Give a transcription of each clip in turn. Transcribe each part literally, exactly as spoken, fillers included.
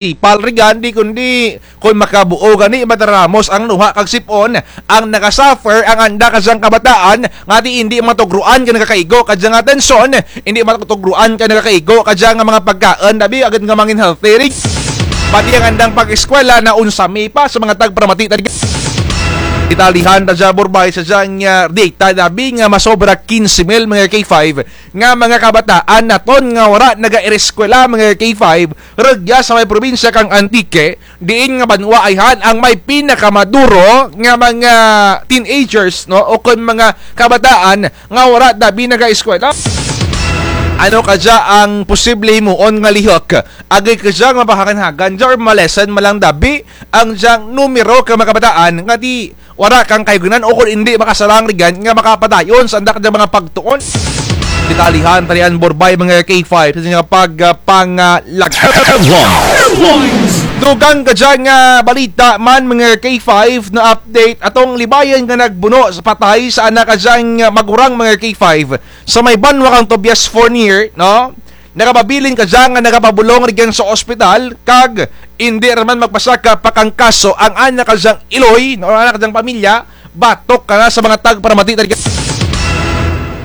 Ipal ri gani, kundi kon makabuo gani, madaramos ang luha kag sip-on, ang nakasuffer ang anda kadyang kabataan, nga ti indi matugruan kang nakakaigo kadyang atensyon, indi matugruan kang nakakaigo kadyang mga pagkaon, dabi, agud nga mangin healthy ri. Pati ang andang pag-eskwela na unsa mi pa sa mga tagparamati, tadi. Italihan ta dya, Borbay, sa dyang, ah, data, dabi, nga masobra kinse mil, mga K five, nga mga kabataan naton nga wara nagaireskwela, mga K five, rugya sa may probinsya kang Antique, diin nga banwa ayhan ang may pinakamaduro nga mga teenagers, no? O kon mga kabataan nga wara dabi nagaeskwela. Ano kadya ang posible himuon nga lihok? Agud kadya nga mapahagan-hagan dya or ma-lessen man lang dabi ang dyang numero ka mga kabataan nga ti wara kang kayugnan o kon indi makasarang ri gani nga makapadayon sa anda kadyang mga pagtuon. Detalyehan ta ri an, Borbay, mga K five, sa nga pag, ah, pangalag. Headlines. Dugang kadya nga balita man, mga K five, na update atong libayan nga nagbuno sa patay sa ana kadyang, ah, magurang, mga K five, sa may banwa kang Tobias Fornier, no? Nagapabilin kadya nga nagapabulong ri gani sa ospital, kag indi ra man magpasaka pa kang kaso ang ana kadyang iloy, no, ana kadyang pamilya, batok kana sa mga tagparamati, tadi.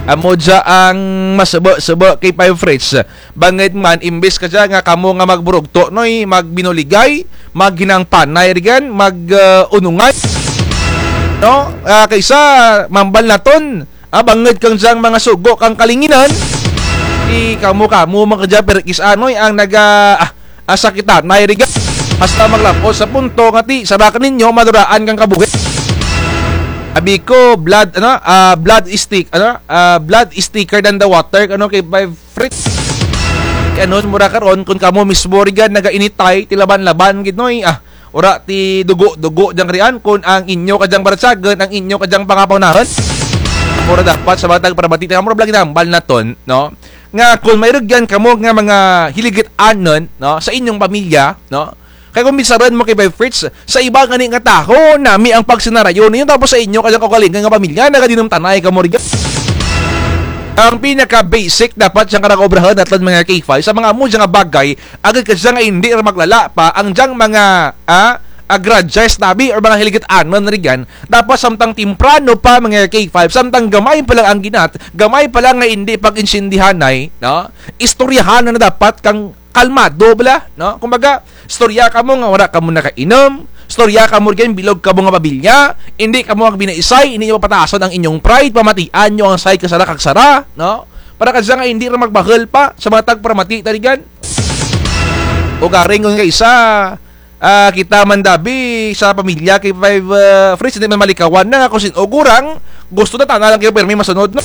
Amo dya ang masubo-subo, K five Fritz. Bangud man, imbis kadya nga kamo nga magburugto, noy, magbinuligay, maghinang panay ri gani, mag, ah, unungan. No? Ah, kaysa mambal naton, ah, bangud kang dyang mga sugo kang kalinginan. Ti kamo-kamo man kadya pirkis-a, noy, ang naga, ah, ah, sakitanay ri gani. Hasta maglab-ot sa punto nga ti, sa baka ninyo, maduraan kang kabuhi. Abi ko, blood, ano, ah, blood is thick, ano, ah, blood is thicker than the water, ano, K five Fritz. Kay ano, mura karon, kon kamo mismo ri gani nagainitay, ti laban-laban gid, noy, ah, wara ti dugo-dugo dyang rian, kon ang inyo kadyang baratyagun, ang inyo kadyang pangapahunahan. Mura dapat sa mga tagparamati, mura bala ginahambal naton, no? Nga kon may rugyan kamo nga mga hiligit-anon, no, sa inyong pamilya, no? Kay kon bisarun mo, K five Fritz, sa iba gani nga tawo, nami ang pagsinarayo ninyo, tapos sa inyo kadyang kaugalingun nga pamilya, nagadinutanay kamo ri gani. Ang pinaka-basic dapat dyang karang obrahun naton, mga K five, sa mga amo dya nga bagay, agud kadya nga indi ra maglala pa ang dyang mga, ah, ah, grudges, tabi, or mga hiligit-anon ri gani. Dapat samtang temprano pa, mga K five, samtang gamay pa lang ang ginat, gamay pa lang nga indi pag-intindihanay, no? Istoryahan na dapat kang kalmado bala, no? Kumbaga, istorya kamo nga wara kamo nakainom, istorya kamo ri gani bilog kamo nga pamilya, indi kamo magbinaisay, indi ninyo papatason ang inyong pride, pamatian ninyo ang side kang sara kag sara, no? Para kadya nga indi ra magbahul pa sa mga tagparamati, tadi gani. Ugaring kon kaysa, ah, kita man dabi sa pamilya, K five, ah, Fritz, indi man malikawan na nga kon sin-o gurang, gusto na tana lang kayo pirmi masunod, no?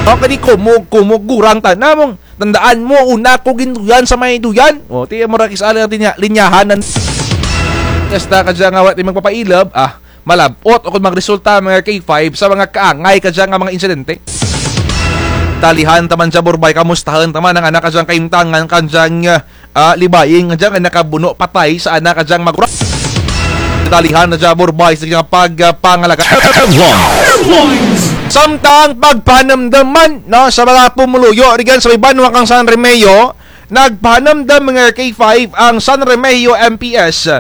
O, kani kumog-kumog gurang tana mong, tandaan mo, una ko ginduyan sa may duyan. O, ti, mura kis-a lang ti linya-, linyahan nan. Hasta kadya nga wara ti magpapailub, ah, malab-ot o kon magresulta, mga K five, sa mga kaangay kadya nga mga insidente. Detalyehan ta man dya, Borbay, kamustahun ta man ang ana kadyang kahimtangan, kadyang, ah, ah, libayin nga dya nga nakabuno patay sa ana kadyang magurang. Detalyehan ta dya, Borbay, sa dyang pag, ah, pangalagad. Headlines. Samtang pagpahanumdum man, no, sa mga pumuluyo ri gani sa may banwa kang San Remigio, nagpahanumdum, mga K five, ang San Remigio M P S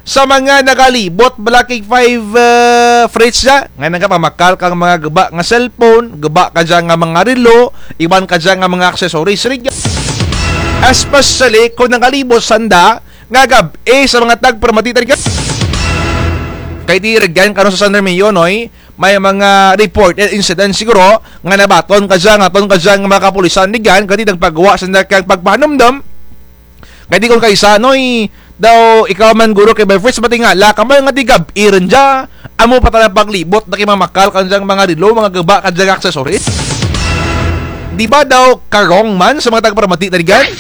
sa mga nagalibot bala, K five, ah, Fritz, dya nga nagapamakal kang mga guba nga cellphone, guba kadya nga mga relo, iban kadya nga mga accessories ri gani. Especially kon nagalibot sanda nga gab-i sa mga tagparamati, tadi gani. Kay ti ri gani karon sa San Remigio, noy, may mga reported incidents siguro nga nabaton kadya nga aton kadya nga mga kapulisan ri gani, kay ti nagpagawa sanda kang pagpahanumdum. Kay ti kon kaysa, noy, daw ikaw man guro, K five Fritz, matingala ka man nga ti gab-i run dya, amo pa tana paglibot na kay mamakal kadyang mga relo, mga guba kadya nga accessories. Di ba daw karong man sa mga tagparamati, tadi gani?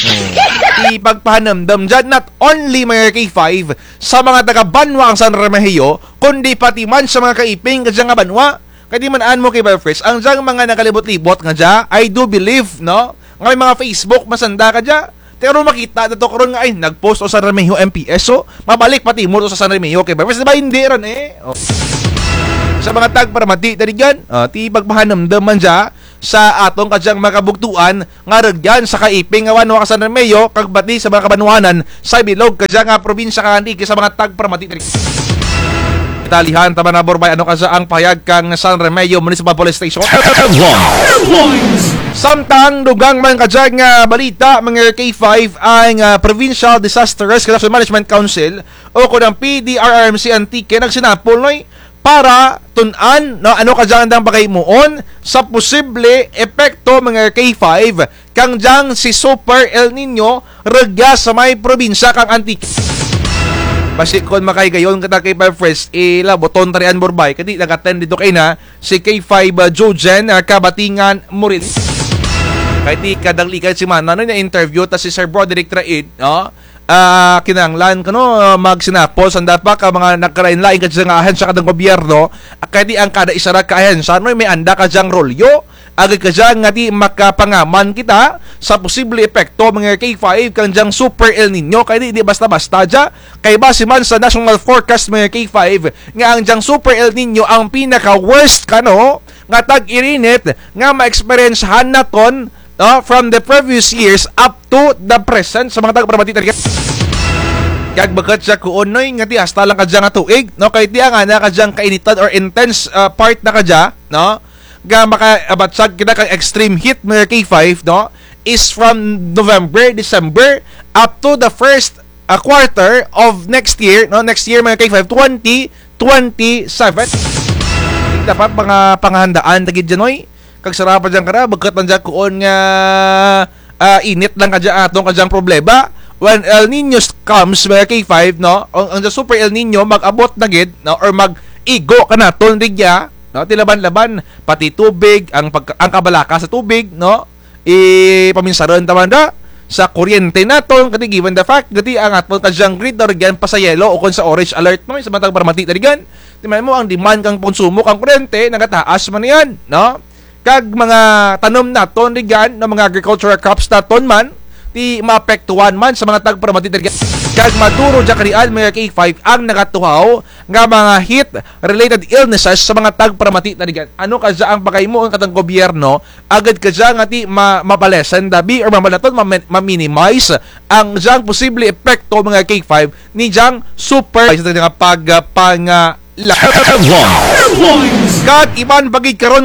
Ti pagpahanumdum dya, not only, mga K five, sa mga taga-banwa kang San Remigio, kundi pati man sa mga kaiping kadya nga banwa. Kay ti man-an mo, K five Fritz, ang dyang mga nagalibot-libot nga dya, I do believe, no, nga may mga Facebook man sanda kadya. Pero makita na to karon nga, ay, nag-post o San Remigio M P S, so mabalik pa ti mo to sa San Remigio, K five Fritz, di ba? Indi run, eh. O. Sa mga tagparamati, tadi gani, ah, ti pagpahanumdum man dya, sa atun kadyang mga kabugtuan nga rugyan sa kaiping nga banwa kang San Remigio, kag pati sa mga kabanwanan sa bilog kadyang, ah, probinsya kang Antique sa mga tagparamati. Detalyehan ta man, ah, Borbay, ano kadya ang pahayag kang San Remigio Municipal Police Station. Headlines. Samtang dugang man kadya nga balita, mga K five, ang, ah, Provincial Disaster Risk Reduction Management Council o kon ang P D R R M C Antique nagsinapol, Noy, para tun-an, no, ano kadya ang andang pagkahimuon sa posible epekto, mga K five, kang dyang si Super El Nino rugya sa may probinsya kang Antique. Basi kon makahigayon kita, K five Fresh, ilabuton ta ria, Borbay, kay ti nag-attend didto kaina si K five, ah, Jojen, ah, Kabatingan Moril. Kay ti kadaglikay semana, no, na-interview ta si Sir Broderick Traid, no? Ah, kinahanglan kuno, ah, magsinapol sanda pa ka mga nagkalain-lain kadya nga ahensya kang gobyerno, ah, kay ti ang kada isa ra ka ahensya, no, may anda kadyang rolyo, agud kadya nga ti makapangaman kita sa posible epekto, mga K five, kang dyang Super El Nino, kay ti, di basta-basta dya, kay base man sa national forecast, mga K five, nga ang dyang Super El Nino ang pinaka-worst kano nga tag-irinit nga ma-experiencehan naton, no, from the previous years up to the present sa mga tagparamati ta rugyan. Kag bukut dya kuon, Noy, nga ti hasta lang kadya nga tuig, no, kay ti ang ana kadyang kainitan or intense, ah, part na kadya, no, nga makaabatsag kita kang extreme heat, mga K five, no, is from November, December, up to the first, ah, quarter of next year, no, next year, mga K five, twenty twenty-seven. Dapat mga panghandaan ta gid dya, Noy. Kag sara pa dyan kara, bukut man dyan kuon nga, ah, init lang kadya atun kadyang problema. When El Nino comes, mga K five, no, ang, ang Super El Nino mag-abot na gid, no, or mag-igo kanaton rugya, no, ti laban-laban, pati tubig, ang pagka-, ang kabalaka sa tubig, no, i-, paminsarun ta man ra sa kuryente naton, kay ti given the fact nga ti ang atun kadyang grid na rugyan pasayelo ukon sa orange alert, no, sa mga tagparamati ta rugyan. Ti man mo ang demand kang konsumo kang kuryente, nagataas man yan, no? Kag mga tanum naton rugyan, no, mga agricultural crops naton man, ti maapektuhan man sa mga tagparamati ta rugyan. Kag maduro dya karian, mga K five, ang nagatuhaw nga mga heat-related illnesses sa mga tagparamati ta rugyan. Ano kadya ang pagkahimuon kang atun gobyerno, agud kadya nga ti ma-, mapalesen dabi or mamalaton, ma-, ma-minimize ang dyang posible epekto, mga K five, ni dyang super sa nga pag-, ah, pang-, ah, la-. Headlines. Kag iban pa gid karon,